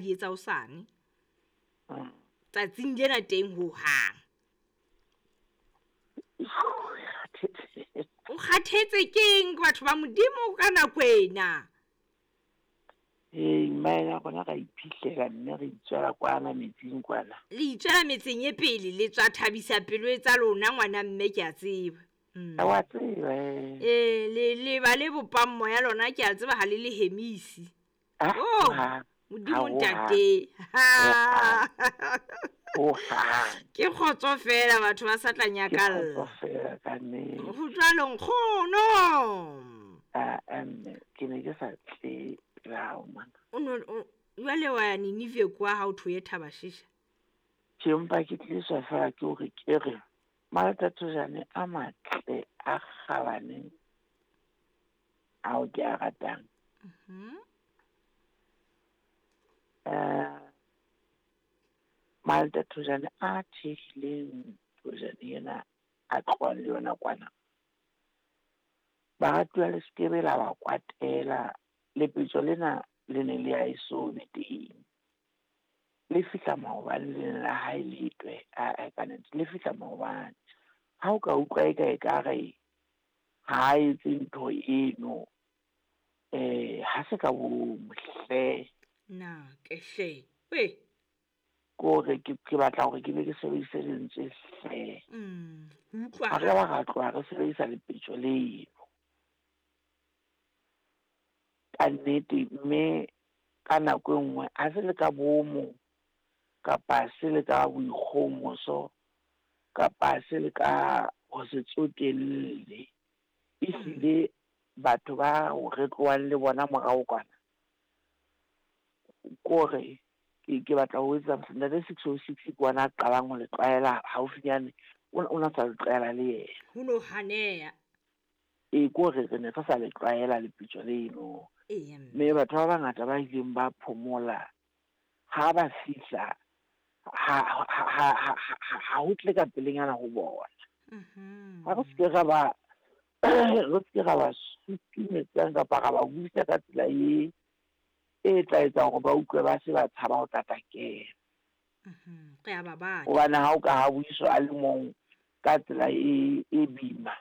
di etsa hosane. Tsatsing lena teng hohang. O kgathetse keng batho ba Modimo ka nako ena? Ee, mmaena ya rona ra iphihlela mme re itswela kwana metsing kwana. Le itswela metseng e pele, le tswa thabisa pelo e tsa lona ngwana mme ke a tseba. Wa tseba eh. Ee, le le ba le bopang moya lona ke a tseba ha le le hemisi. Oh, Modimo ntate. Ke kgotso fela batho ba sa tla nyakalla. Ke kgotso fela ka nnete. Ho jwalo nkgono. Ah, mme ke ne ke sa tle pela hao mona. O no jwale wa ya Ninive kwa ha o thoye Thabashisha. Ke mpa ke tliswa fela ke hore ke re Malatathojane a matle a kgabane ao ke a ratang. Malatathojane a thehileng thojane ena a tlohang le yona kwana. Baratuwa le sekebe la ba kwatela, lepetjo lena le ne le a eso be teng. Le fihla maobane le ne la hae letwe, ae ka nnete le fihla maobane. Ha o ka utlwa eka ekare ha a etse ntho eno, ha se ka bomo hle. Na ke hle. We. Kore ke batla hore ke be ke sebedise lentswe hle. Utlwa. Ha re ba ra tloha re sebedisa lepetjo leno. Ka nnete mme ka nako e nngwe ha se le ka bomo kapa se le ka boikgohomoso kapa se le ka ho se tsotelle. Ehlile batho ba re tlohang le bona morao kwana. Kore ke batla ho etsa ntate 606 ke ona a qalang ho le tlwaela haufinyane, o na sa le tlwaela le yena. Ho no haneha. Ee, kore re ne re sa le tlwaela lepetjo leno. Mme batho ba bangata ba ileng ba phomola ha ba fihla ha ho tle ka pelenyana ho bona. Ha re seke ra ba re seke ra ba sutumetsang kapa ra ba buisa ka tsela e e tla etsa hore ba utlwe ba se ba tshaba ho tla kena. Re a ba batla. Hobane ha o ka ha buiswa a le mong ka tsela e boima,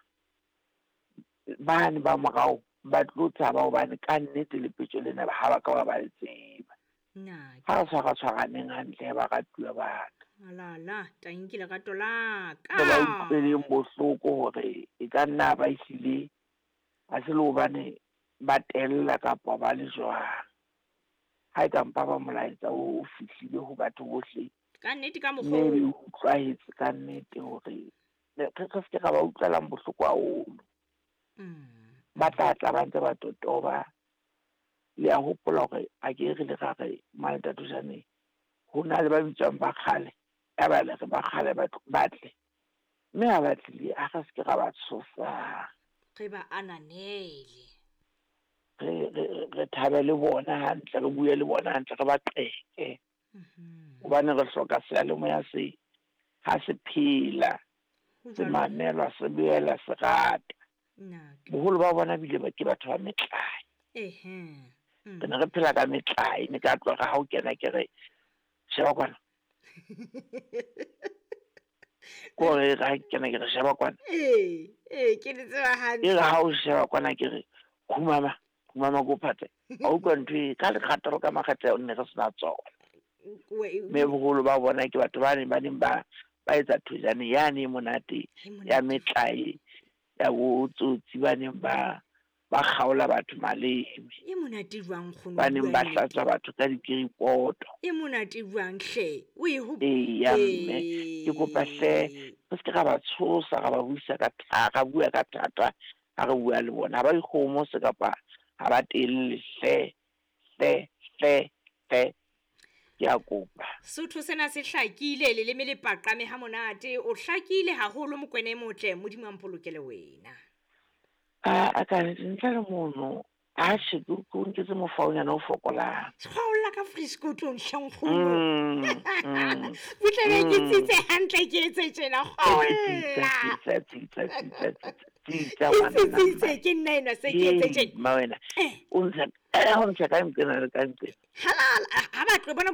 bane ba morao ba tlo tshaba hobane ka nnete lepetjo lena ha ba ka ba ba le tseba. Ha re tshwara-tshwaraneng hantle baratuwa ba ka. Alala, tanki lerato la ka. Re ba utlweleng bohloko hore e ka nna ba ehlile ha se le hobane ba tella kapa ba le jwang. Ha e ka mpa ba molaetsa o fihlile ho batho bohle. Ka nnete ka mokgwa Mme e utlwahetse ka nnete hore re se ke ra ba utlwelang bohloko haholo. Ba tla tla ba ntse ba totoba. Le a hopola hore a ke re le ra re Malatathojane ho na le ba bitswang ba kgale, ya ba le re ba kgale ba tle. Mme ha ba tlile ha re se ke ra ba tshosang. Re ba ananele. Re thabe le bona hantle, re bue le bona hantle, re ba qeke. Hobane re hloka seyalemoya se ha se phela, se mamelwa, se boela se rata. Boholo ba bona bile ba ke batho ba metlae. Re ne re phela ka metlae, ne ka tloha ha o kena ke re sheba kwana. Kore ha kena ke re sheba kwana. Ee, ke le tseba hantle. E re ha o sheba kwana ke re khumama, khumama ko phate. Ha utlwa ntho e ka lekgatlo ka makgetlo ne re sena tsona. Mme boholo ba bona ke batho ba neng ba neng ba etsa thojane yane e monate ya metlae ya botsotsi ba neng ba kgaola batho maleme. E monate jwang nkgono? Ba neng ba hlatswa batho ka dikiripoto. E monate jwang hle? O e ho Eya mme, ke kopa hle re se ke ra ba tshosa, ra ba buisa ka ra bua ka thata ha re bua le bona. Ha ba ikgohomose kapa ha ba telle hle, hle, hle, hle. Ke a kopa. Sotho sena se hlakile, leleme le paqame ha monate. O hlakile haholo Mokwena e motle, Modimo a mpolokele wena. A ka ntle le mono, a che ke o nketse mofaonyana o fokolang. Kgaola ka friskotong hle nkgono. Butle be ke tsitse hantle ke etse tjena, kgaola. Tsitsa Tsitse ke nna enwa se ke etse tjena. Mma wena, o ntsha ka nqena le ka nqena. Halala, ha ba tlo bona.